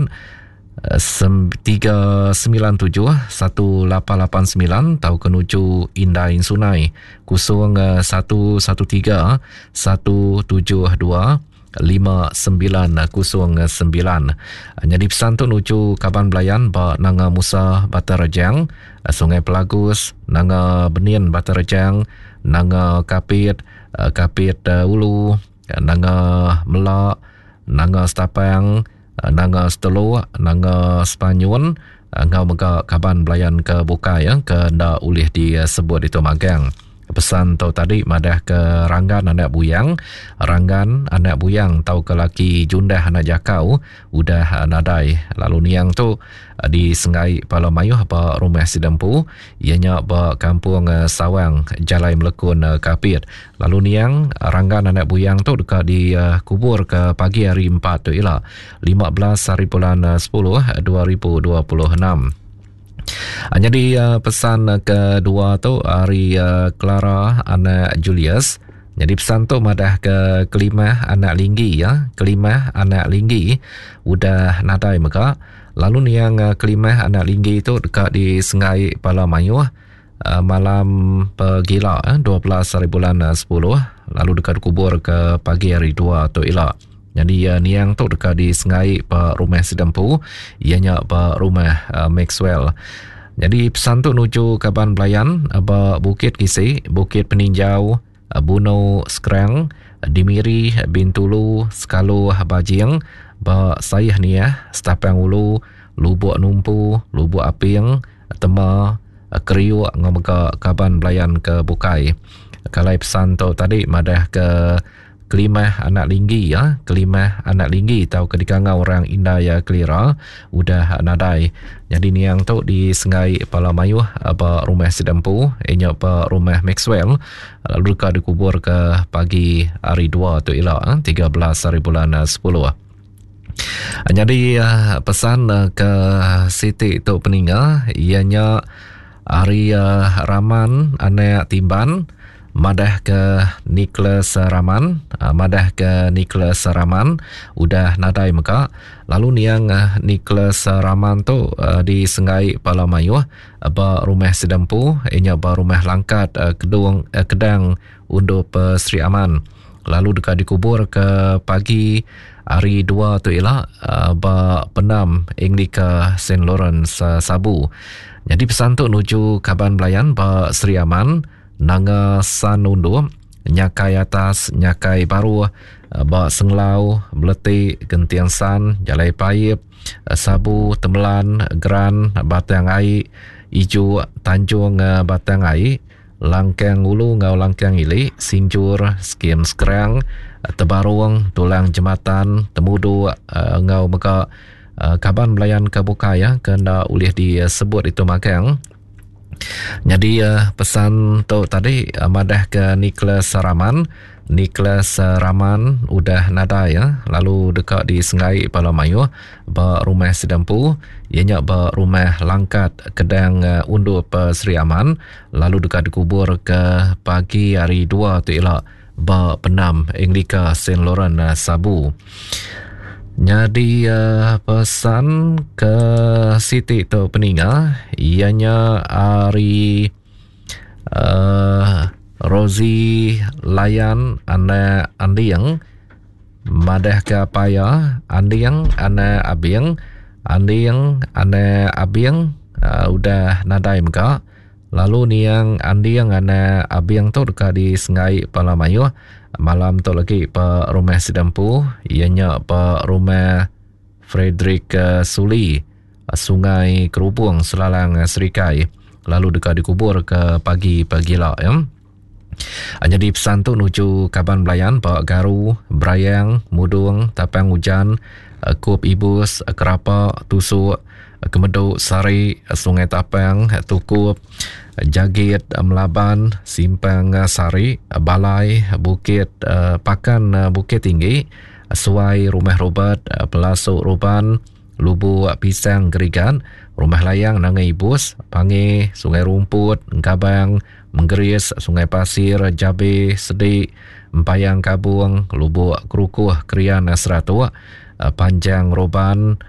4 397 1889 tauka nuju Indai Sunai 0113 172 5909. Nyadi pesan tu nuju kaban belayan ba Nanga Musa Batang Rejang, Sungai Pelagus, Nanga Benin Batang Rejang, Nanga Kapit, Kapit Ulu, Nanga Mela, Nanga Stapang, Nanga Seteluk, Nanga Sepanyun enggau mega kaban belayan ke bukai ke enda ulih disebut ditu magang. Pesan tu tadi madah ke Ranggan anak Buyang, Ranggan anak Buyang tauka laki Jundah anak Jakau udah nadai lalu niang tu disenggai pala mayuh ba rumah sida empu iya nya ba Kampung Sawang Jalai Melekun Kapit. Lalu niang Ranggan anak Buyang tu deka dikubur ke pagi hari empat tu ila 15 hari bulan 10 2026. Nyadi pesan kedua tu ari Clara anak Julius. Nyadi pesan tu madah ke Kelimah anak Linggi ya, Kelimah anak Linggi udah nadai mega. Lalu niang Kelimah anak Linggi tu deka disenggai pala mayuh malam pegila 12 hari bulan 10 lalu deka dikubur ke pagi hari 2 tu ila. Nyadi niang tu deka disengai ba rumah sida empu iya nya ba rumah Maxwell. Nyadi pesan tu nuju kaban belayan ba Bukit Kisi, Bukit Peninjau, Bunu Skrang, di Miri, Bintulu, Sekalu Bajing, ba Saih Niah, Stapang Ulu, Lubok Numpu, Lubok Aping, Tema, Kriuk enggau mega kaban belayan ke bukai. Kalai pesan tu tadi madah ke Kelimah anak Linggi ya, Kelimah anak Linggi tauka dikangau orang indai iya Kelira udah nadai. Nyadi niang tu disenggai pala mayuh ba rumah sida empu iya nya ba rumah Maxwell lalu deka dikubur ke pagi hari dua tu ila 13 hari bulan 10. Nyadi pesan ke siti tu peninga iya nya ari Raman anak Timban madah ke Nicholas Raman madah ke Nicholas Raman udah nadai mega lalu niang Nicholas Raman tu disenggai bala mayuh ba rumah sida empu iya nya ba rumah Langkat Kedung Kedang Undup Sri Aman lalu deka dikubur ke pagi hari dua tu ila ba pendam Anglika Saint Lawrence Sabu. Nyadi pesan tu nuju kaban belayan ba Sri Aman, Nanga San Undup, Nyakai Atas, Nyakai Baruh, ba Senglau, Beleti, Genting San, Jalai Paip, Sabu, Temelan, Geran, Batang Ai, Ijuk, Tanjung Batang Ai, Langkang Ulu enggau Langkang Ili, Sinjur, Skim Skrang, Tebarung, Tulang Jematan, Temuduk enggau mega kaban belayan ke bukai ke enda ulih disebut ditu magang. Nyadi pesan tu tadi madah ke Nicholas Raman Nicholas Raman udah nadai ya lalu deka disenggai bala mayuh ba rumah sida empu iya nya ba rumah Langkat Kedang Undup Sri Aman lalu deka dikubur ke pagi hari dua tu ila ba pendam Anglika Saint Laurent Sabu. Nyadi pesan ke siti tu peninga iya nya ari uh, Rosie Layan anak Anding madah ke apai iya Anding anak Abing Anding anak Abing uh, udah nadai mega lalu niang Anding anak Abing tu deka disenggai pala mayuh malam tu lagi ba rumah sida empu iya nya ba rumah Frederick eh, Suli Sungai Kerubung Selalang Serikai lalu deka dikubur ke pagi pagila ya. Nyadi pesan tu nuju kaban belayan ba Garu, Brayang, Mudung, Tapang Ujan, Kup Ibus, Kerapa, Tusuk, Kemedu, Sari, Sungai Tapang, Tukup, Jagit, Melaban, Simpang Sari, Balai, Bukit Pakan Bukit Tinggi, Suai Rumah Robert, Pelasuk Ruban, Lubuk Pisang Gerigan, Rumah Layang Nanga Ibus, Pangi, Sungai Rumput, Engkabang, Menggeris, Sungai Pasir, Jabe, Sedik, Empayang Kabung, Lubuk Kerukuh, Krian Seratuk, Panjang Roban,